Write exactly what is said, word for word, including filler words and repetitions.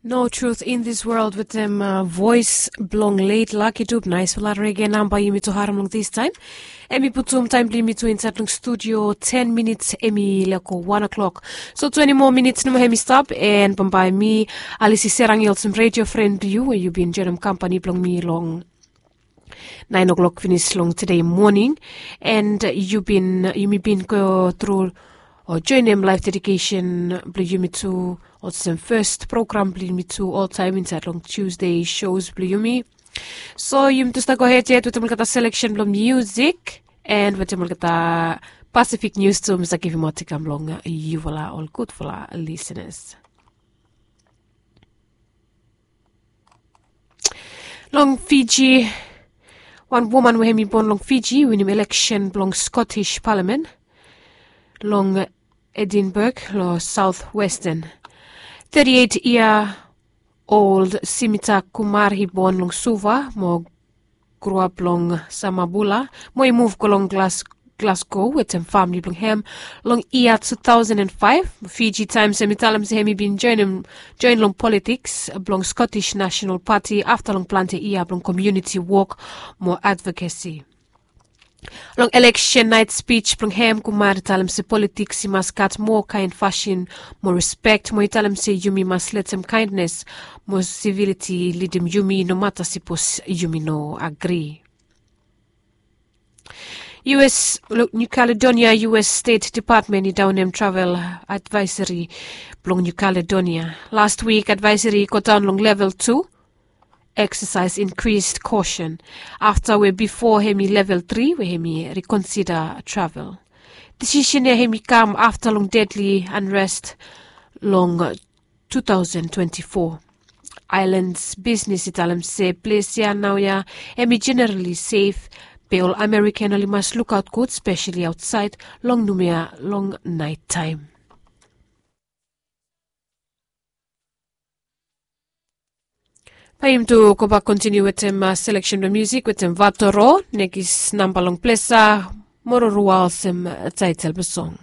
No Truth in This World wetem vois blong leit laki dub. Naisfala rege namba yumi tu harim long distaim. Em i putum taim blong yumi tu insait long studio ten minits em i leko wan o'klok. So twenti moa minits nomo em i stap, en bambae mi alisi serang i olsem redio fren blong yu we yu bin joinim kampani blong mi long nain o'klok finis long tude moning. En yu bin yumi bin go tru o joinim laif dedikesen blong yumi tu olsem fes program blong yumi tu oltaim insait long tusde sho blong yumi. So yumi tu stap gohed yet wetem olgeta seleksen blong musik, en wetem olgeta pasifik nius tu mi save givim aut i kam long yufala ol gudfala lisenas. Long Fiji, wan woman we hem i bon long Fiji i winim eleksen blong Scottish Palamen long Edinburg long South Western. Thirty-eight year old Simita Kumar i bon long Suva mo groap long Samabula mo i muv go long Glasgow wetem famili blong hem long yia two thousand and five. Fiji Times hem i talem se hem i bin join long politiks blong Scottish National Party afta long plante yia blong komuniti wok mo advokesi. Long eleksen nait spij blong hem Kumar i talem se politiks i mas gat moa kaen fasin mo rispek mo i talem se yumi mas letem kaendnes mo siviliti lidim yumi nomata sipos yumi no agri. U S, New Caledonia U S State Department i daonem travel advaeseri blong New Caledonia. Last wik advaeseri i godaon long level tu, exercise increased caution, afta we bifo hem i level tri we hem i rekonsida travel. Disisen ya hem i kam afta long dedli anrest long two thousand twenty-four. Aelan bisnes i talem se ples ya naoia hem i jenerali sef, be ol Amerikan oli mas lukaot gud spesali aotsaed long numia long naitaem. Bae yumi tu gobak kontiniu wetem seleksen blong musik wetem Vatoro, nekis namba long plesa, Mororua olsem taetel blong song.